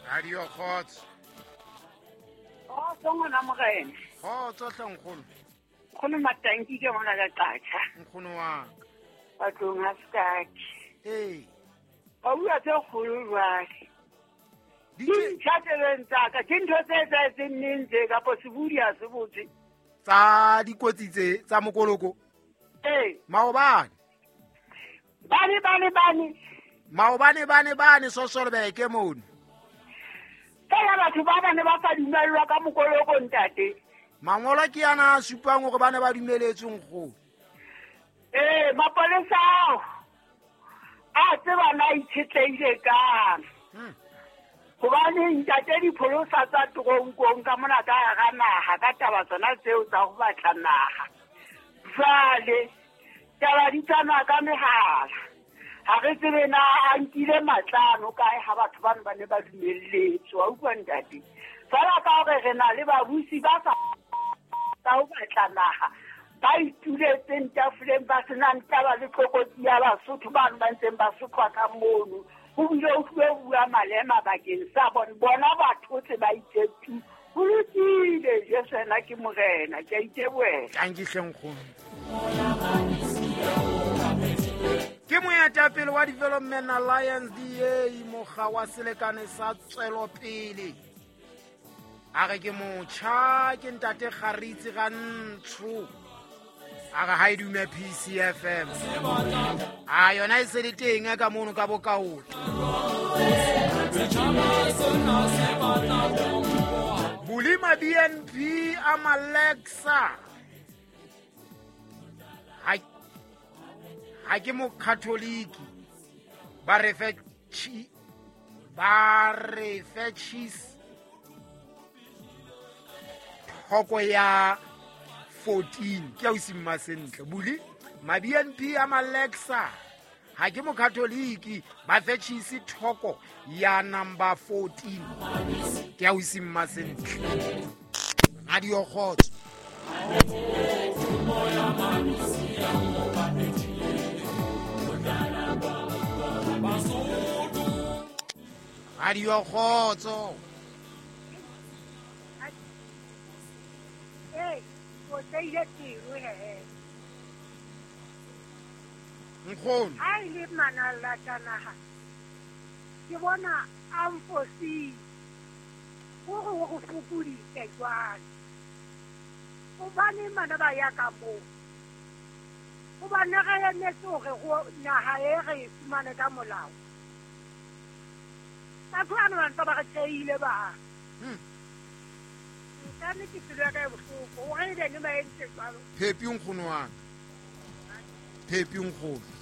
Radio Kgotso. Kgotso ngwana morena. Kgotso hle nkgono. Nkgono Matanki ke mona ka Qacha. Nkgono wa ka. Batlong ha sekake. Ee. Ba bua tse kgolo jwale. Di ntjha tsebeng tsaka, ke ntho tse etsahetseng neng tse kapo sebodi ha se botse. Tsa dikotsi tse tsa mokoloko. Ee. Maobane. Bane bane bane. Maobane bane bane Sosolbeke mono. Fela batho ba bane ba sa dumellwa ka mokoloko ntate. Mangolo ke yana a supang hore ba ne ba dumeletswe nkgono. Ee, mapolesa ao a tseba na itshetlehile kang. Hobane ntate dipholosa tsa toronkong ka mona ka hara naha ka taba tsona tseo tsa ho batla naha. Jwale taba di tsamaya ka mehala. Ha re tsebe na a nkile matlano kae ha batho bano ba ne ba dumelletswe. Wa utlwa ntate? Fela ka hore re na le babusi ba sa tsa ho batla naha, ba ituletseng tafoleng ba senang taba le tlokotsi ya Basotho bano ba ntseng ba sotlwa ka mono. Ho bile ho tluwe ho bua malema bakeng sa bona, bona ba thotse ba itse tu. Ho lokile, Jesu yena ke morena, ke a itebohela. Tanki hle nkgono. Ke moetapele wa Development Alliance DA, mokga wa selekane sa tswelopele. A re ke motjha, ke ntate Kgaritsi Rantsho. A re ha e dume PCFM. A yona e se le teng ka mono ka bokaoto. Bolima BNP a Malexa. Ha ke mokatholiki. Ba re fe ba re fe cheese. Thoko ya 14 ke a o simma sentle. Buli ma BNP a Malexa. Ha ke mokatholiki, ba fe cheese thoko ya number 14. Ke a o simma sentle. Radio Kgotso. Radio Kgotso. Ee, o tseile pelo he. Nkgono. Ha e le manalla tsa naha, ke bona a mfositse. Hore o re fokoditse jwale. Hobane bana ba ya ka moo. Hobane re emetse hore naha e re e fumane ka molao. Batho bana ba ntse ba re tjehile ba. Nka ke pelo ya ka e bohloko. Hore ebe ne ba entse jwalo. Phepi nkgono wa ka. Phepi nkgono.